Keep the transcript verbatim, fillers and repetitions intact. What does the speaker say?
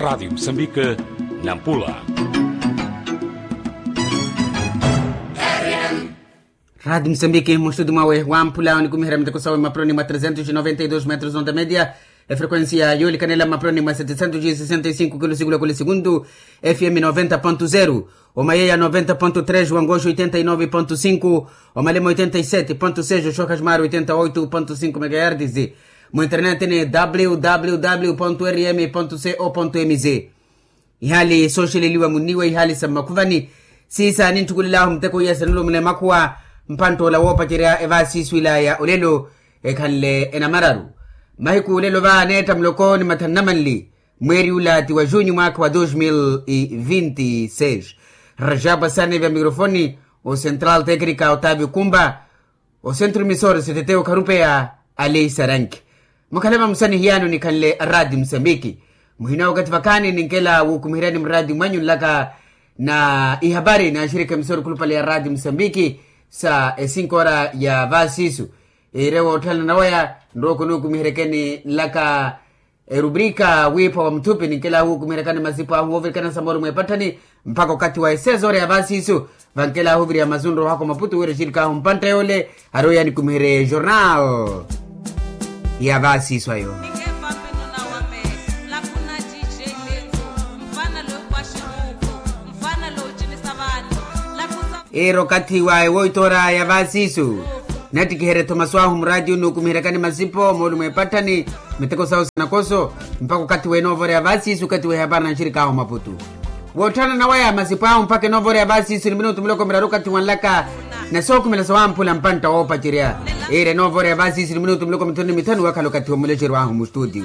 Radi musambike, nampula. Radi musambike mustutu mwawe wampula onikumiherya miteko sawe mapuroni mwa trezentos noventa y dos metros onda media. Efrekuensia yoolikanela mapuroni mwa setecentos sesenta y cinco kilusikulu ya kuli segundu. Fm noventa ponto zero, omayeya noventa ponto tres, wangoxo oitenta y nove ponto cinco, omalemo oitenta y sete ponto seis, oxoka ximari oitenta y oito ponto cinco megahertis. Mu internet ni www rm co mz. Ihali sooxeleliwa munniwe ihali sa mmakhuvani. Siisa ninttukulelahu muteko iya sanulumula emakhuwa. Mpanttoola woopacerya evaasiisu ilaya olelo ekhanle enamararu. Mahiku olelo va neetta muloko ni mathanu na manli, mweeri ula ti wa junyu mwaakha wa dos mil e vinte e seis. Rajapa sane vya mikrofoni, o central teknika otavio kumba, o centro emisor seteteyo kharupeya, alei saranki. Mukhale vamusani hiyano nikhanle aradi musambiki. Muhina wakathi vakhaani ninkela wukumiheryani muradi mwanyu nlaka na ihapari na axirikha emisor khulupale ya radi musambiki, sa esinko ora ya vaasiisu. Iire wootthana nawaya nrooko nukumiheryakeni nlaka erubrika wiipha wa muthupi ninkela wukumiheryakani masipu ahu woovirikana samoro mwepatthani, mpakha okathi wa esezoore ya vaasiisu. Vankela ahuviriya masunro wahakwa maputu wira exirikaahu mpantta yoole, ari oya nikumiherye jornal ya vaasiisu ayo. Iira okathi wa ewoitoora ya vaasiisu. Nattikiherye thomaso ahu muraatiyo nukumiheryakani masipo moolumo epatthani, miteko sawo sanakoso, mpakha okathi w'enoovora ya vaasiisu okathi w'ehapari na nxirikaahu maputu. Wootthana nawaya masipo ahu mpakha enoovora ya vaasiisu ni minutu muloko miraru okathi wanlaka na sookhumela sawamphula mpantta woopacerya. Iira enoovora ya vaasiisu ni minutu muloko mithanu ni mithanu wakhala okathi wa mulexeryo ahu mustutiyo.